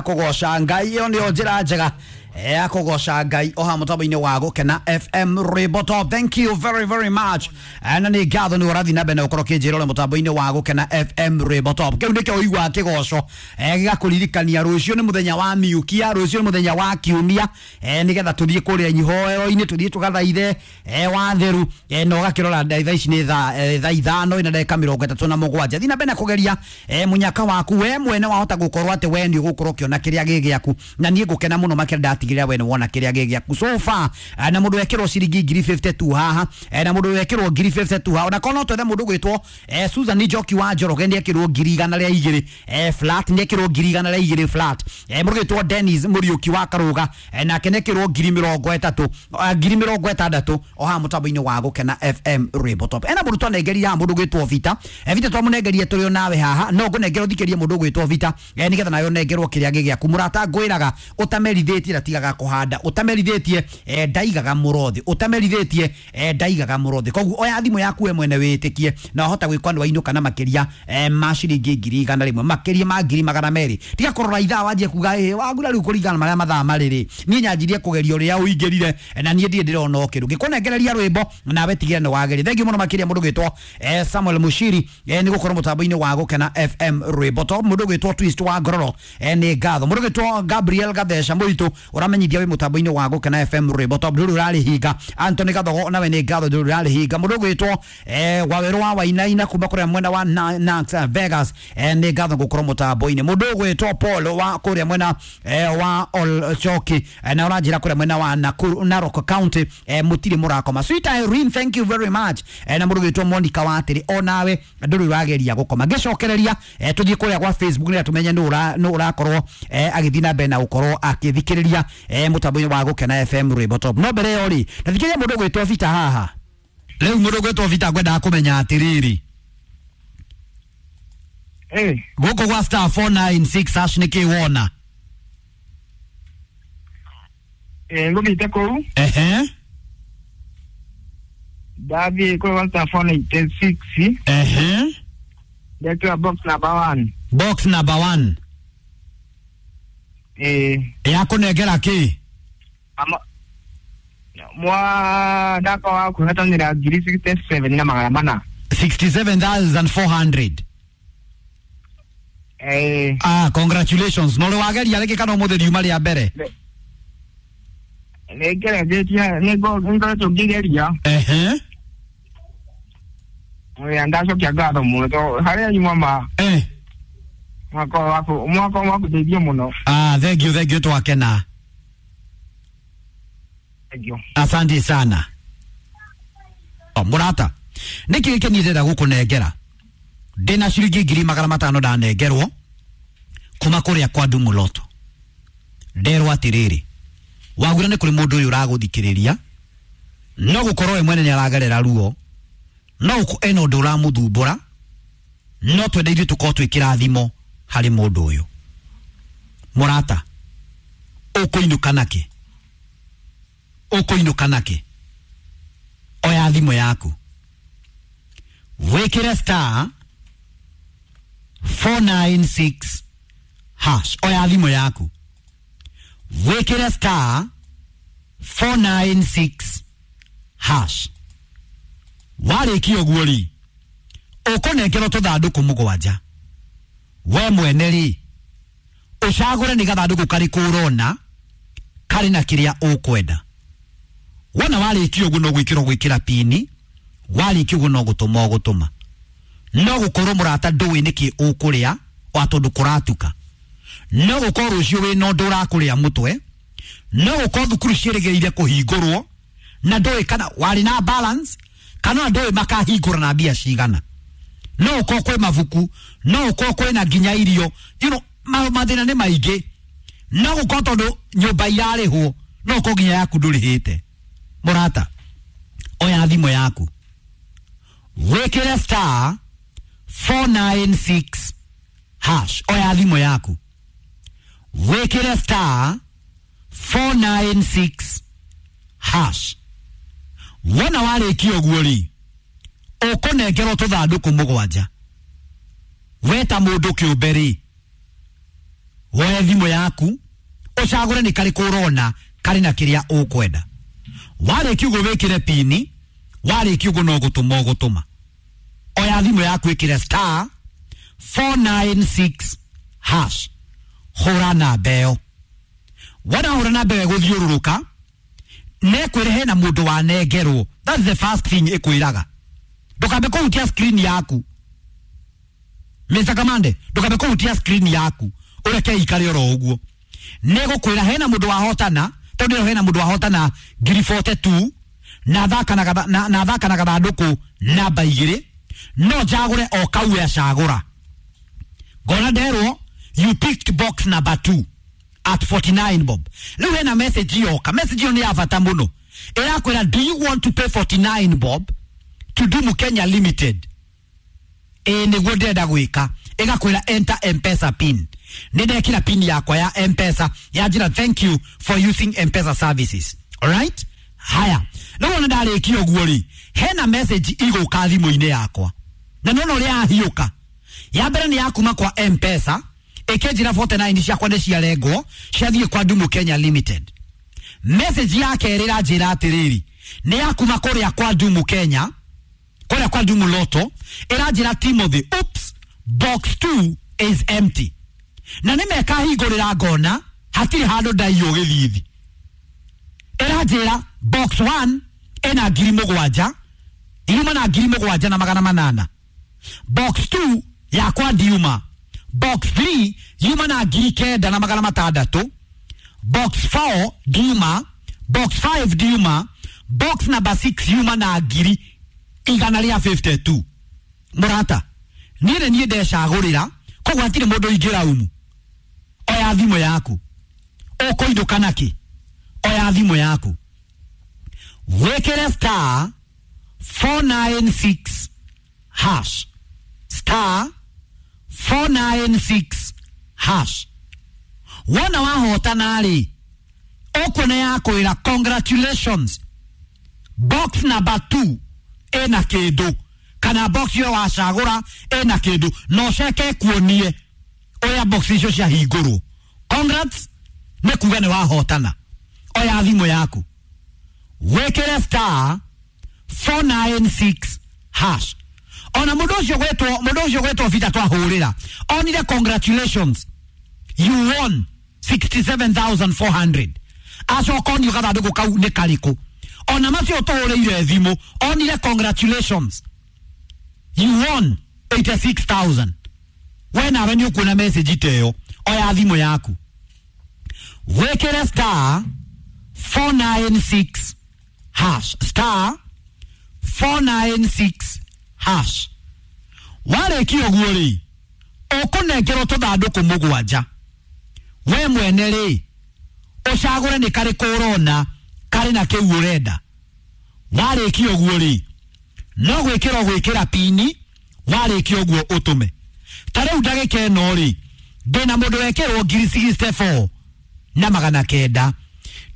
Kũgoca Ngai ĩyo nĩyo njĩra njega ya kũgoca Ngai oha mũtambo-inĩ wa Gũkena FM Rwĩmbo Top. Thank you very very much. Na nĩ ngatho nĩ ũrathiĩ na mbere na gũkorwo ũkĩnjĩra ũrĩa mũtambo-inĩ wa Gũkena FM Rwĩmbo Top. Kĩu nĩkĩo ũiguaga kĩgoco gĩgakũririkania rũciũ nĩ mũthenya wa miukia, rũciũ nĩ mũthenya wa kiumia, nĩgetha tũthiĩ kũrĩa ihoero-inĩ, tũthiĩ tũgathaithe watheru, na ũgakĩrora thaa ici nĩ thaa 5:37. Thiĩ na mbere na kũgeria mũnyaka waku we mwene, wahota gũkorwo atĩ we nĩ ũgũkorwo ũkĩona kĩrĩa gĩ gĩaku, na niĩ ngũkena mũno makĩria ndatigĩrĩra we nĩ wona kĩrĩa gĩ gĩaku so far. Na mũndũ wekĩrwo ciringi ngiri 52 haha, na mũndũ wekĩrwo ngiri 52 haha, ona korwo no twethe mũndũ gwĩtwo Susan Njoki wa Njoroge nĩ ekĩrwo ngiri 102 flat, nĩ ekĩrwo ngiri 102 flat. Mũndũ gwĩtwo Dennis Mũriũki wa Karũga, nake nĩ ekĩrwo ngiri 30, ngiri 60 o haha mũtambo-inĩ wa Gũkena FM Rwĩmbo Top. Ena mũndũ twanengeria haha, mũndũ gwĩtwo Vita, Vita twamũnengeria tũrĩ o nawe haha, no ngũnengera ũthikĩrie mũndũ gwĩtwo Vita, nĩgetha nawe ũnengerwo kĩrĩa gĩ gĩaku. Mũrata ngwĩraga ũtamerithĩtie ndatigaga kũhanda, ũtamerithĩtie ndaigaga mũrothi, ũtamerithĩtie ndaigaga mũrothi. Koguo oya thimũ yaku we mwene wĩtĩkie na wahota gwĩkwa nĩ wainũka na makĩria ma ciringi ngiri 100, makĩria ma ngiri 200. Tiga kũrora ithaa wanjie kuga ĩ wagura rĩu kũringana na marĩa mathaa marĩ rĩ, niĩ nyanjirie kũgeria ũrĩa ũingĩrire, na niĩ ndirĩ ndĩrona o kĩndũ. Ngĩkũnengereria rwĩmbo nawe tigĩrĩra nĩ wageria. Thengiũ mũno makĩria mũndũ gwĩtwo Samuel Mushiri, nĩ gũkorwo mũtambo-inĩ wa Gũkena FM Rwĩmbo Top. Mũndũ gwĩtwo Twist wa Ngororo, nĩ ngatho. Mũndũ gwĩtwo Gabriel Gatheca Mũritũ ũramenyithia wĩ mũtambo-inĩ wa Gũkena FM Rwĩmbo Top, ndũrĩ ũrarĩhinga. Anthony Gathogo nawe nĩ ngatho, ndũrĩ ũrarĩhinga. Mũndũ gwĩtwo Wawerũ wa Wainaina kuma kũrĩa mwena wa Nax Vegas, nĩ ngatho gũkorwo mũtambo-inĩ. Mũndũ gwĩtwo Paul wa kũrĩa mwena wa Olchoki, na ũranjĩra kũrĩa mwena wa Nakuru, Narok County, mũtirĩ mũrakoma. Sweet Irene, thank you very much. Na mũndũ gwĩtwo Monica Watĩrĩ, onawe ndũrĩ ũrageria gũkoma. Ngĩcokereria tũthiĩ kũrĩa gwa Facebook nĩgetha tũmenye nũ ũrakorwo agĩthiĩ na mbere na gũkorwo akĩthikĩrĩria mũtambo-inĩ wa Gũkena FM Rwĩmbo Top. No mbere ĩyo rĩ, ndathikĩrĩria mũndũ gwĩtwo Vita haha. Rĩu mũndũ gwĩtwo Vita ngwendaga kũmenya atĩrĩrĩ, gũkũ gwa star 496 hash nĩ kĩ wona? Ngũthiĩte kũu. Ehe. Ndathiĩ kũu star 496. Ehe. Ndekĩra box number 1. Box number 1. Yakũnengera kĩ? Mwa ndaka wa kũhetanĩra ngiri 67 na 400. 67,400. Ah, congratulations. No wageria rĩngĩ kana ũmũthĩ riuma rĩa mbere? Nĩ ngeretie, nĩ ngoretwo ngĩgeria. Ehe. Oya, ndacokia ngatho mũno tondũ harĩa nyuma ma mwaka waku mwaka waku mũno. Ah, thank you, thank you, twakena. Thank you. Asante sana. O, mũrata, nĩkĩ gĩkĩ niĩ ndĩrenda gũkũnengera? Ndĩna ciringi ngiri 500 ndanengerwo kuma kũrĩa kwa Ndumuloto. Nderwo atĩrĩrĩ, wagura nĩ kũrĩ mũndũ ũyũ ũragũthikĩrĩria, no gũkorwo we mwene nĩ aragerera ruo, no ena ũndũ ũramũthumbũra, no twende ithuĩ tũkorwo twĩ kĩrathimo harĩ mũndũ ũyũ. Mũrata, ũkũinũka nakĩ? Ũkũinũka nakĩ? Oya thimũ yaku, wĩkĩre star 496 hash. Oya thimũ yaku, wĩkĩre star 496 hash. Warĩkia ũguo rĩ, ũkũnengerwo tũthandũkũ 7. We mwene rĩ, ũcagũre nĩ gathandũkũ karĩkũ ũrona karĩ na kĩrĩa ũkwenda. Wona warĩkia ũguo no gwĩkĩrwo gwĩkĩra pini, warĩkia ũguo no gũtũma ũgũtũma. No gũkorwo mũrata ndũĩ nĩkĩ ũkũrĩa wa tondũ kũratuka. No gũkorwo rũciũ wĩna ũndũ ũrakũrĩa mũtwe, no gũkorwo thukuru ciĩrĩgĩrĩire kũhingũrwo na ndũĩ kana warĩ na balance kana ndũĩ makahingũra na mbia cigana. No gũkorwo kwĩ mabuku, no gũkorwo kwĩna nginya irio, you know, mathĩna nĩ maingĩ. No gũkorwo tondũ nyũmba irarĩhwo, no gũkorwo nginya yaku ndũrĩhĩte. Mũrata, oya thimũ yaku, wĩkĩre star 496 hash. Oya thimũ yaku, wĩkĩre star 496 hash. Wona warĩkia ũguo rĩ, ũkũnengerwo tũthandũkũ 7. We ta mũndũ kĩũmbe rĩ, Woe thimũ yaku ũcagũre nĩ karĩkũ ũrona karĩ na kĩrĩa ũkwenda. Warĩkia ũguo wĩkĩre pini, warĩkia ũguo no gũtũma ũgũtũma. Oya thimũ yaku ĩkĩre star 496 hash, hũra namba ĩyo. Wona hũra namba ĩyo ĩgũthiũrũrũka nekwĩre hena mũndũ wanengerwo. That's the first thing ĩkwĩraga. Ndũkambe kũhutia screen yaku, Mr. Kamande, ndũkambe kũhutia screen yaku, ũreke ikare oro ũguo. Nĩgũkwĩra hena mũndũ wahotana, tondũ ĩyo hena mũndũ wahotana ngiri 42 na thaka na thaka na gathandũkũ namba 2, no njagũre o kau acagũra. Ngona nderwo you picked box number 2 at 49 bob. Rĩu hena message yoka, message ĩyo nĩ ya bata mũno. Ĩrakwĩra do you want to pay 49 bob to Dumu Kenya Limited? Ĩĩ nĩguo ndĩrenda gwĩka. Ĩgakwĩra enter M-Pesa pin. Nĩ ndekĩra pin yakwa ya M-Pesa, yanjĩra thank you for using M-Pesa services. Alright? Haya. Rĩu ona ndarĩkia ũguo rĩ, hena message igũka thimũ-inĩ yakwa. Na nĩwona ũrĩa yahiũka. Ya mbere nĩ ya kuma kwa M-Pesa, ĩkĩnjĩra 49 ciakwa nĩ ciarengwo, ciathiĩ kwa Dumu Kenya Limited. Message ya kerĩ ĩranjĩra atĩrĩrĩ, nĩ ya kuma kũrĩa kwa Dumu Kenya, kũrĩa kwa Dumu Lotto, ĩranjĩra Timothy, oops, box 2 is empty. Na nĩ mekahingũrĩra ngona hatirĩ handũ ndaiywo gĩthithi. Ĩranjĩra box 1 ĩna 7,000, yuma na 7,800. Box 2 yakwa ndiuma. Box 3 yuma na 9,600. Box 4 ndiuma. Box 5 ndiuma. Box number 6 yuma na 152. Mũrata, niĩ nĩ niĩ ndecagũrĩra, koguo hatirĩ mũndũ ingĩraumu. Oya thimũ yaku, ũkũinũka nakĩ? Oya thimũ yaku, wĩkĩre star 496 hash, star 496 hash. Wona wahotana rĩ, ũkuona yakwĩra congratulations, box number 2 ĩna kĩndũ, kana box ĩyo wacagũra ĩna kĩndũ, na ũceke kuonie ũrĩa box icio ciahingũrwo. Congrats, nĩ kuga nĩ wahotana. Oya thimũ yaku, wĩkĩre star 496 hash. Ona mũndũ ũcio gwetwo Vita twahũrĩra, onire congratulations, you won 67,400. Acoka onio gathandũkũ kau nĩ karĩkũ. Ona macio tũhũrĩire thimũ, onire congratulations, you won 86,000. We nawe nĩ ũkuona message ta ĩyo. Oya thimũ yaku, wĩkĩre star 496 hash, star 496 hash. Warĩkia ũguo rĩ, ũkũnengerwo tũthandũkũ 7. We mwene rĩ, ũcagũre nĩ karĩkũ ũrona karĩ na kĩu ũrenda. Warĩkia ũguo rĩ, no gwĩkĩra ũgwĩkĩra pini, warĩkia ũguo ũtũme. Ta rĩu ndagĩka ĩno rĩ, ndĩna mũndũ wekĩrwo 64,900.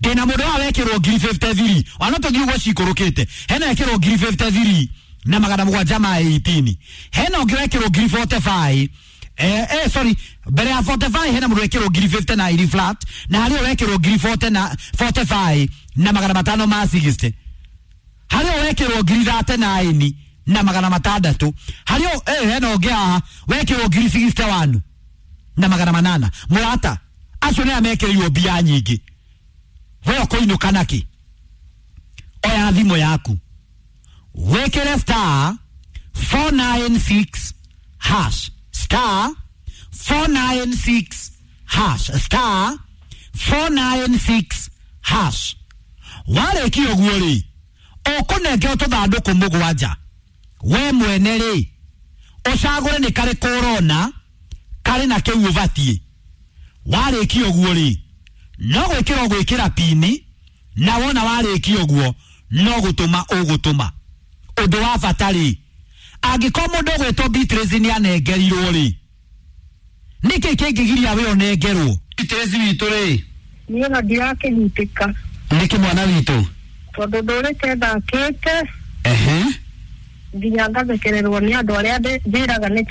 Ndĩna mũndũ wa wekĩrwo 53,000, ona tũthiĩ ũguo cikũrũkĩte. Hena wekĩrwo 53,718. Hena ũngĩ wekĩrwo 45,000. Sorry, mbere ya 45 hena mũndũ wekĩrwo 59,000 flat, na harĩ wekĩrwo 45,560. Harĩ wekĩrwo 39,600. Harĩ hena ũngĩ haha wekĩrwo 61,800. Mũrata, acio nĩ amekĩrĩirwo mbia nyingĩ. We ũkũinũka nakĩ? Oya thimũ yaku, wĩkĩre star 496 hash, star 496 hash, star 496 hash. Warĩkia ũguo rĩ, ũkũnengerwo tũthandũkũ 7. We mwene rĩ, ũcagũre nĩ karĩkũ ũrona karĩ na kĩu ũbatiĩ. Warĩkia ũguo rĩ, no gwĩkĩra ũgwĩkĩra pini, na wona warĩkia ũguo no gũtũma ũgũtũma. Ũndũ wa bata rĩ, angĩkorwo mũndũ ũgwĩtwo Beatrice nĩ anengerirwo rĩ, nĩkĩ kĩngĩgiria we ũnengerwo? Beatrice witũ rĩ, niĩ ona ndirakĩnyitĩka. Nĩkĩ mwana witũ? Tondũ ndũrĩte thakĩte. Ehe. Nginya ngathekererwo nĩ andũ arĩa njĩraga nĩ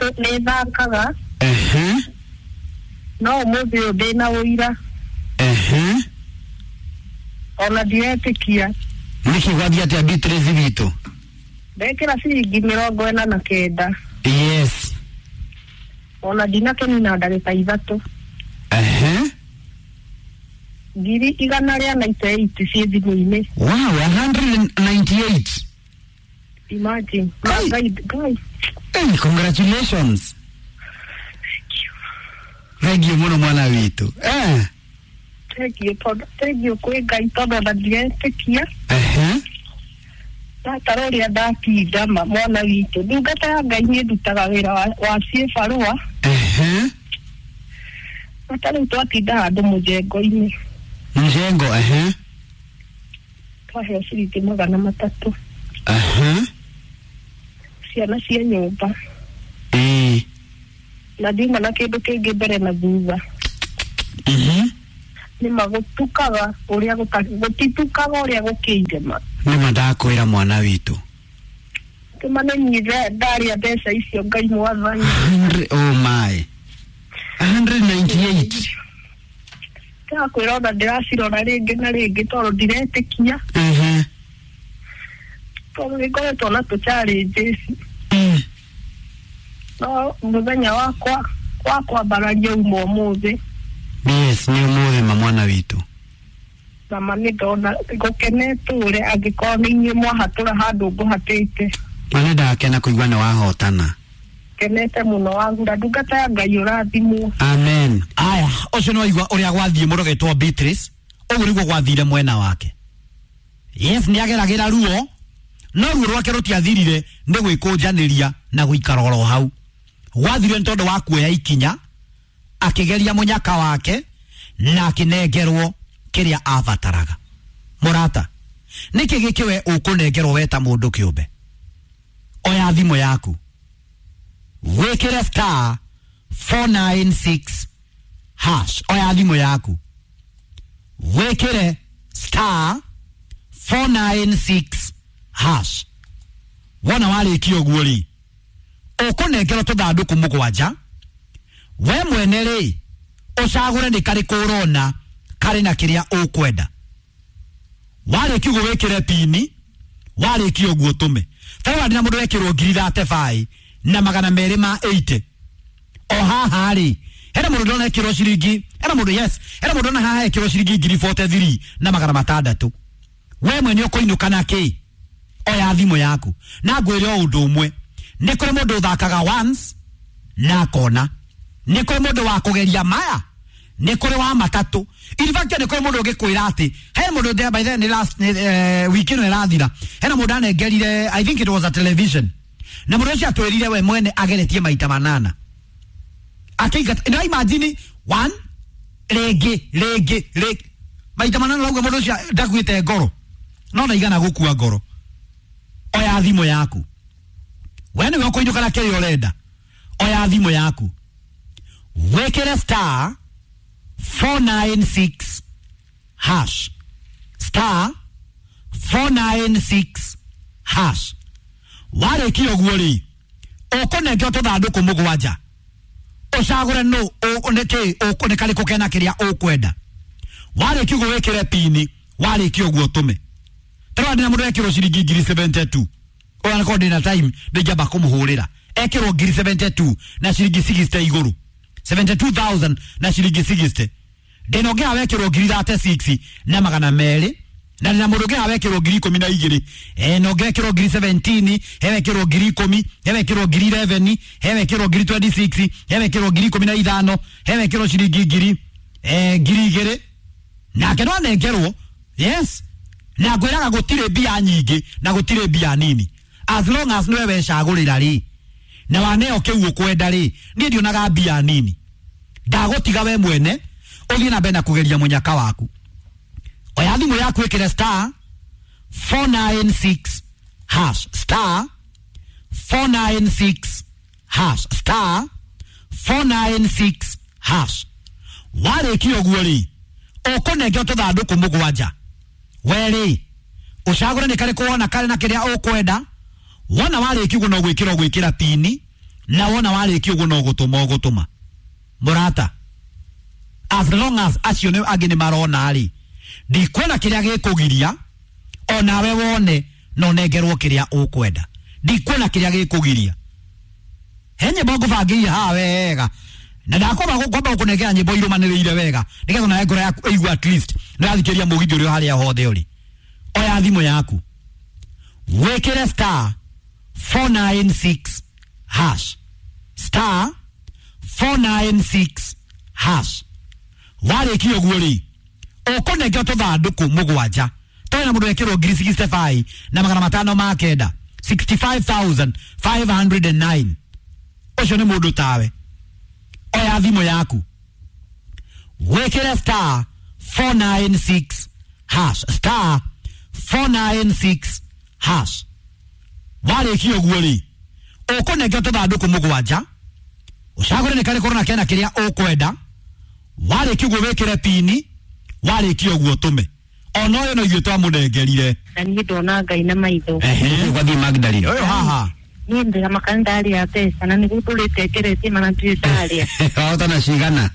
thakaga. Ehe. No ũmũthĩ ũyũ ndĩna ũira. Ehe. Ona ndiretĩkia. Nĩkĩ gwathiĩ atĩa Beatrice witũ? Ndekĩra ciringi 49. Yes. Ona ndinakĩnina ndagĩka 3. Ehe. 198 ciĩ thimũ-inĩ. Wow, 198. Imagine. Kai. Ngai, Ngai. Hey, congratulations. Thank you mũno mwana witũ. Eh. Thank you tondũ thank you kwĩ Ngai tondũ ona ndiretĩkia. Ehe. Ndatara ũrĩa ndatinda ma mwana witũ. Ndungata ya Ngai niĩ ndutaga wĩra wa ciĩbarũa. Ehe. Bata rĩu twatinda handũ mũjengo-inĩ. Mjengo, ehe. Twaheo ciringi 300. Ehe. Ciana cia nyũmba. Ĩĩ. Na ndiuma na kĩndũ kĩngĩ mbere na thutha. Mhm. Nĩma gũtukaga ũrĩa gũtitukaga ũrĩa gũkĩire ma. Nĩma ndakwĩra mwana witũ. Kĩmamenyire ndarĩa mbeca icio Ngai mwathani. Oh my. 198. Ndakwĩra ona ndĩracirora rĩngĩ na rĩngĩ tondũ ndiretĩkia. Ehe. Tondũ nĩngoretwo na tũ challenges. Mm. No mũthenya wakwa wa kwambararia uma ũmũthĩ. Yes, nĩ ũmũthĩ ma mwana witũ. Na ma nĩ ndona ngũkenete ũrĩa angĩkorwo nĩ inyuĩ mwahatũra handũ ngũhatĩte. Ma nĩ ndakena kũigua nĩ wahotana. Kenete mũno wagura ndungata ya Ngai ũrathimwo. Amen. Aya, ũcio nĩ waigua ũrĩa gwathiĩ mũndũ ũgĩtwo Beatrice, ũguo nĩguo gwathire mwena wake. Yes, nĩ ageragĩra ruo, no ruo rwake rũtiathirire nĩ gwĩkũnjanĩria na gũikara oro hau. Gwathire nĩ tondũ wa kuoya ikinya, akĩgeria mũnyaka wake na akĩnengerwo kĩrĩa abataraga. Mũrata, nĩkĩ gĩkĩ we ũkũnengerwo we ta mũndũ kĩũmbe? Oya thimũ yaku, wĩkĩre star 496 hash. Oya thimũ yaku, wĩkĩre star 496 hash. Wona warĩkia ũguo rĩ, ũkũnengerwo tũthandũkũ 7. We mwene rĩ, ũcagũre nĩ karĩkũ ũrona karĩ na kĩrĩa ũkwenda. Warĩkia ũguo wĩkĩre pini, warĩkia ũguo ũtũme. Tarora ndĩna mũndũ wekĩrwo 35,000 na 280. O haha rĩ, hena mũndũ ndona ekĩrwo ciringi, hena mũndũ, yes, hena mũndũ ndona haha ekĩrwo ciringi 43,600 na 600. We mwene ũkũinũka na kĩ? Oya thimũ yaku. Na ngwĩre o ũndũ ũmwe, nĩ kũrĩ mũndũ ũthakaga once na akona. Nĩ kũrĩ mũndũ wa kũgeria maya, nĩ kũrĩ wa matatũ. In fact, nĩ kũrĩ mũndũ ũngĩkwĩra atĩ he mũndũ ndĩa, by then last wiki ĩno ĩrathira, hena mũndũ anengerire, I think it was a television, na mũndũ ũcio atwĩrire we mwene ageretie maita 8 akĩingata. No imagine one rĩngĩ rĩngĩ rĩngĩ maita 8, rauga mũndũ ũcio ndakuĩte ngoro, no ndaigana gũkua ngoro. Oya thimũ yaku, we nĩwe ũkũinũka na kĩrĩa ũrenda. Oya thimũ yaku, wĩkĩre star 496 hash, star 496 hash. Warĩkia ũguo rĩ, ũkũnengerwo tũthandũkũ 7, ũcagũre nũ nĩkĩ nĩ karĩkũ kena kĩrĩa ũkwenda. Warĩkia ũguo wĩkĩre pini, warĩkia ũguo ũtũme. Tarora ndĩna mũndũ wekĩrwo ciringi 72,000, ona korwo ndĩna time ndingĩamba kũmũhũrĩra. Ekĩrwo 72,000 na ciringi 60 igũrũ, 72,000 na ciringi 60. Ndĩna ũngĩ haha wekĩrwo 36,200 na na ndĩna mũndũ ũngĩ haha wekĩrwo 12,000. Na ũngĩ wekĩrwo 17,000, he wekĩrwo 10,000, he wekĩrwo 11,000, he wekĩrwo 26,000, he wekĩrwo 15,000, he wekĩrwo ciringi 2,000. Nake no anengerwo. Yes, na ngwĩraga gũtirĩ mbia nyingĩ na gũtirĩ mbia nini, as long as nĩwe wecagũrĩra rĩ, na waneo kĩu ũkwenda rĩ, niĩ ndionaga mbia nini. Ndagũtiga we mwene ũthiĩ na mbere na kũgeria mũnyaka waku. Oya thimũ yaku ĩkĩre star 496 hash, star 496 hash, star 496 hash. Warĩkia ũguo rĩ, ũkũnengerwo tũthandũkũ 7. We rĩ, ũcagũre nĩ karĩkũ wona karĩ na kĩrĩa ũkwenda. Wona warĩkia ũguo no gwĩkĩra ũgwĩkĩra pini, na wona warĩkia ũguo no gũtũma ũgũtũma. Mũrata, As long as acio nĩ angĩ nĩ marona rĩ, ndikuona kĩrĩa gĩkũgiria onawe wone na ũnengerwo kĩrĩa ũkwenda. Ndikuona kĩrĩa gĩkũgiria. He nyĩmbo ngũbangĩire haha wega na ndakwamba kwamba gũkũnengera nyĩmbo irũmanĩrĩire wega nĩgetha nawe ngoro yaku ĩigue at least nĩũrathikĩrĩria mũgithi ũrĩa harĩa hothe ũrĩ. Oya thimũ yaku wĩkĩre star 496 hash, star 496 hash. Warĩkia ũguo rĩ, ũkũnengera tũthandũkũ mũgwanja tũrĩ na mũndũ wekĩrwo ngiri 65 na magana matano ma kenda, 65,509. Ũcio nĩ mũndũ tawe. Oya thimũ yaku wĩkĩre star 496 hash, star 496 hash. Warĩkia ũguo rĩ, ũkũnengera tũthandũkũ mũgwanja ũcagũre nĩ karĩkũ na kena kĩrĩa ũkwenda. Warĩkia ũguo wĩkĩre pini, warĩkia ũguo tũme ona ũyũ no ithuĩ twamũnengerire. Na niĩ ndona Ngai na maitho. Gwathiĩ Magdalene. Ũyũ haha Niĩ ndĩramaka nĩ ndarĩa mbeca na nĩguo ndũrĩte ngeretie mana ndirĩ ndarĩa. Wahotana cigana?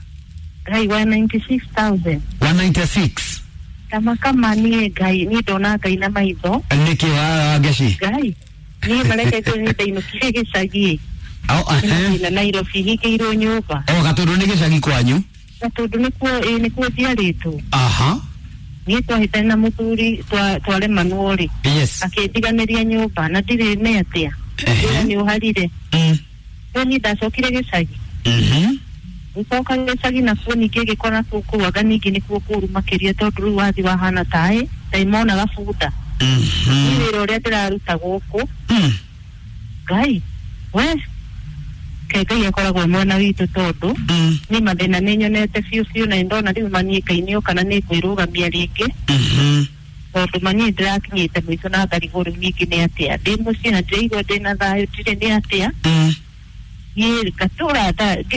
Ngai wa 96,000. 196. Ndamaka niĩ Ngai, niĩ ndona Ngai na maitho. Nĩkĩ wa ngeci? Ngai niĩ marekete niĩ ndainũkire gĩcagi. Au, ehe. Na Nairobi hingĩirwo nyũmba. O gatũndũ nĩ gĩcagi kwanyu? Na tondũ nĩkuo ĩ nĩkuo njiarĩtwo. Aha. Niĩ twahĩtania na mũthuri twaremanwo rĩ. Yes. Akĩndiganĩria nyũmba na ndirĩ nĩ atĩa. Ehe. Wĩra nĩ ũharire. Mm. Rĩu niĩ ndacokire gĩcagi. Mhm. Gũcoka gĩcagi nakuo ningĩ gĩkora kũu anga ningĩ nĩkuo kũũru makĩria tondũ rĩu wathi wahana taĩ ndaimonaga bunda. Mhm. Niĩ wĩra ũrĩa ndĩraruta gũkũ Mm. Ngai we ke Ngai akoragwo mwena witũ tondũ Mm. niĩ mathĩna nĩ nyonete biũ biũ na nĩndona rĩu maniĩ Ngai nĩ oka na nĩ ngwĩrũgamia rĩngĩ. Mhm. Tondũ maniĩ ndĩrakinyĩte mũico na ngarigwo rĩu ningĩ nĩ atĩa ndĩ mũciĩ na ndĩraigua ndĩna thayũ ndirĩ nĩ atĩa. Mm. Niĩ ngatũra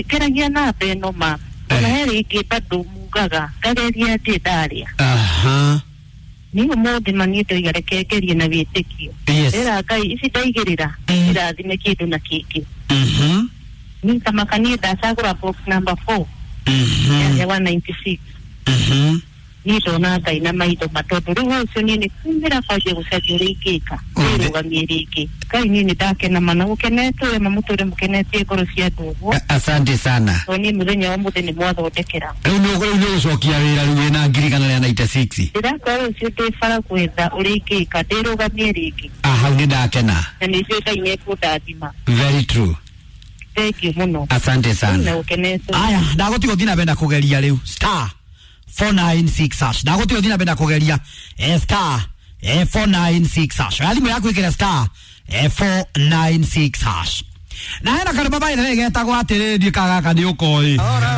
ngeragia namba ĩno ma ona he rĩngĩ bado mugaga ngageria ndĩ ndarĩa. Aha. Niĩ ũmũthĩ maniĩ ndoiga reke ngerie na wĩtĩkio. Yes. Ndĩra Ngai ici ndaigĩrĩra Mm. irathime kĩndũ na kĩngĩ. Mhm. Niĩ tamaka niĩ ndacagũra box number 4 Mhm. ya 196. Mhm. Niĩ ndona Ngai na maitho ma tondũ rĩu ũcio niĩ nĩ kumĩra kwanjia gũcaria ũrĩa ingĩka ndĩrũgamie rĩngĩ. Ngai niĩ nĩ ndakena mana gũkenetwo ma mũtũre mũkenetie ngoro cia andũ ũguo. Asante sana. Tondũ niĩ mũthenya wa ũmũthĩ nĩ mwathondekera. Rĩu nĩ rĩu nĩ ũgũcokia wĩra rĩu wĩna ngiri igana rĩa 96. Ndĩrakora rũciũ ndĩ bara gwetha ũrĩa ingĩka ndĩrũgamie rĩngĩ. Ah, hau nĩ ndakena. Na nĩ njũĩ Ngai nĩ ekũndathima. Very true. Thank you mũno. Asante Na sana. gũkenetwo. Aya, ndagũtiga ũthiĩ na mbere na kũgeria rĩu star 496 hash. Ndagũtiga ũthiĩ na mbere na kũgeria star 496 hash. Oya thimũ yaku ĩkĩre star 496 hash. Na hena karũma by the way getagwo atĩrĩrĩ, ndiũĩ kana gaka nĩ ũkoĩ.